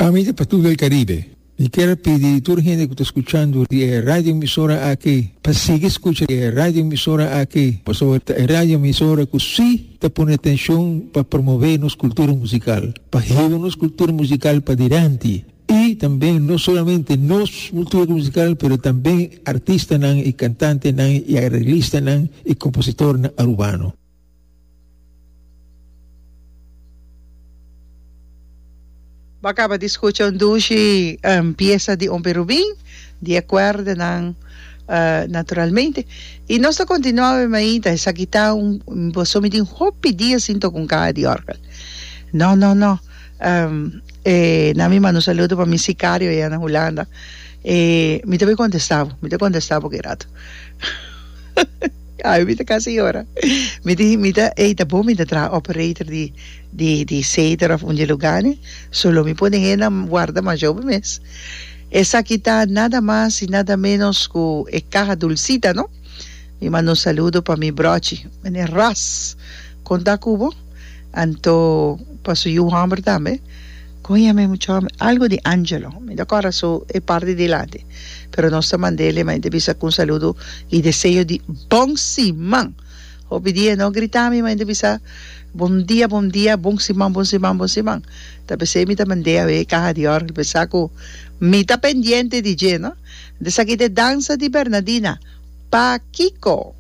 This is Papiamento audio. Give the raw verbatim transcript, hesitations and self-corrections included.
Ami ta Patu del Caribe. Mi kier pidi tur hende ku ta skuchando e radio emisora aki pa sigui skucha e radio emisora aki, pasobra e radio emisora ku sí ta pone atenshon pa promové nos kultura musikal, pa hiba nos kultura musikal pa dilanti. I tambe no solamente nos kultura musikal, pero tambe artistanan i kantantenan i areglistanan i kompositornan arubano. Bo a kaba di skucha un dushi piesa di Ompe Rubin, di e kuerdanan naturalmente. I nos ta kontinuá awe mainta, esaki ta un, boso mi tin hopi dia sin toka un kaha di òrgel. No, no, no. E na mi manda un saludo pa mi sicario allá na Hulanda. E mi ta bay contesta bo, mi ta contesta bo ki rato. Ay, mi ta casi yora. Mi di, mi ta, ey, ta bon mi ta traha operator di, di, di Ceder of un di e lugarnan. So lo mi pone hendenan warda masha hopi mes. Esaki ta nada mas y nada menos cu e caha dulcita, no? Mi manda un saludo pa mi brochi, meneer Ras. Con ta cu bo? Anto pa su yu hòmber tambe. Kon yama e mucha hòmber? Algu di Angelo. Mi ta kòrda su e parti dilanti. Pero nos ta mand'é ma e ta bisa ku un saludo i deseo di bon siman. Hopi dia e no grita mi ma e ta bisa bon dia, bon dia, bon siman, bon siman, bon siman. Ta p'esei mi ta mand'é awe e kaha di òrgel p'e sa ku mi ta pendiente di dje, no. Esaki ta e dansa di Bernadina. Pakiko?